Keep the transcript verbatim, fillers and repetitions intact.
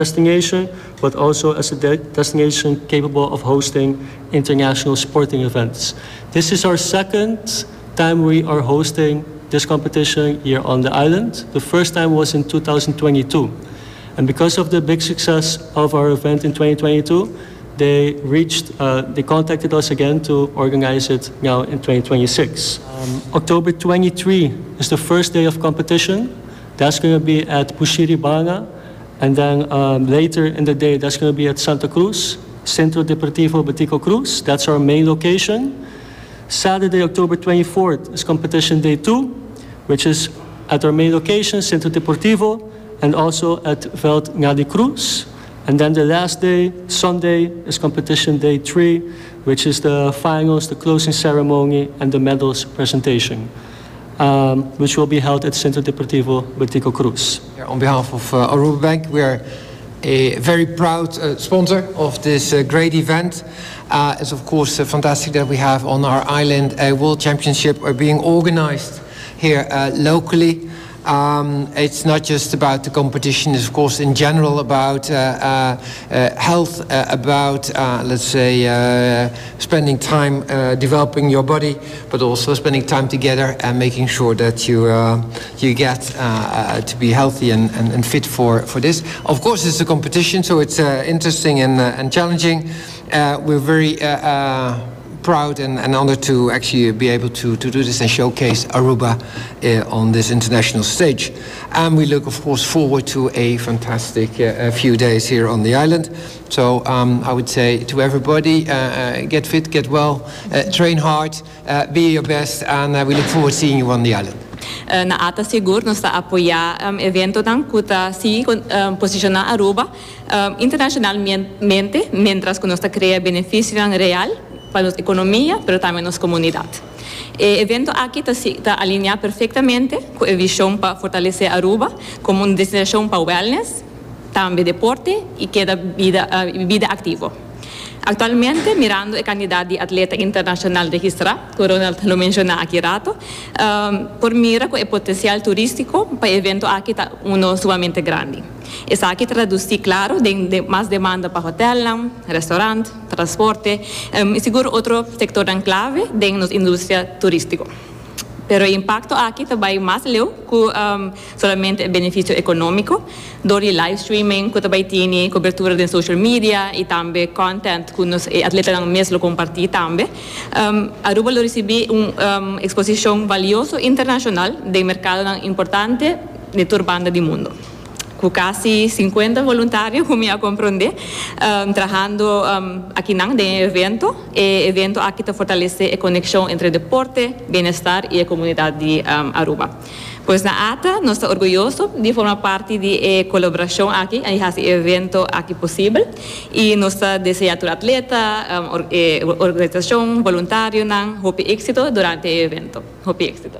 Destination, but also as a de destination capable of hosting international sporting events. This is our second time we are hosting this competition here on the island. The first time was in twenty twenty-two. And because of the big success of our event in twenty twenty-two, they reached, uh, they contacted us again to organize it now in twenty twenty-six. Um, October twenty-three is the first day of competition. That's going to be at Bushiribana. And then um, later in the day, that's going to be at Santa Cruz, Centro Deportivo Betico Croes. That's our main location. Saturday, October twenty-fourth is competition day two, which is at our main location, Centro Deportivo, and also at Veld Ngadi Cruz. And then the last day, Sunday, is competition day three, which is the finals, the closing ceremony, and the medals presentation, um, which will be held at Centro Deportivo Betico Croes. On behalf of uh, Aruba Bank, we are a very proud uh, sponsor of this uh, great event. Uh, it's of course uh, fantastic that we have on our island a World Championship being organized here uh, locally. Um, it's not just about the competition, it's of course in general about uh, uh, uh, health, uh, about, uh, let's say, uh, spending time developing your body, but also spending time together and making sure that you, you get to be healthy and, and, and, fit for, for this. Of course, it's a competition, so it's interesting and, and challenging. We're very proud and, and honored to actually be able to, to do this and showcase Aruba uh, on this international stage. And we look, of course, forward to a fantastic uh, few days here on the island. So um, I would say to everybody, uh, uh get fit, get well, uh, train hard, uh, be your best, and we look forward to seeing you on the island. Uh, na ATA sigur nos ta apoya um, eventonan cu ta si um, posiciona Aruba um, internacionalmente, mientras cu nos ta crea beneficio real pa nos economia, pero tambe nos comunidad. E evento aki ta ta alinea perfectamente cu e vision pa fortalece Aruba como un destinacion pa wellness, tambe deporte y keda bida, uh, bida activo. Actualmente, mirando e cantidad di atleta internacional registra, cu Ronald a menciona aki rato, um, por mira cu e potencial turistico pa e evento aki ta uno sumamente grandi. Esaki ta traduci, claro, den, den mas demanda pa hotel, restaurant, transporte um, y sigur otro sector clave den nos industria turistico. Pero e impacto aki tambe mas leu cu um, solamente beneficio economico, door di live streaming, cu tambe tin cobertura di social media y tambe content cu nos atletanan mes lo comparti tambe. Um, Aruba lo ricibi un um, exposicion valioso internacional di mercado importante di tur banda di mundo. Cu casi cincuenta voluntario, cu mi a comprende, um, trahando um, aki na e evento. E evento aki ta fortalece e conexion entre deporte, bienestar y e comunidad di um, Aruba. Pues na ATA, nos ta orguyoso di forma parti di e colaboracion aki, y haci e evento aki posibel. Y nos ta desea tur atleta, um, or, eh, organisacion, voluntario, hopi exito durante e evento. Hopi exito.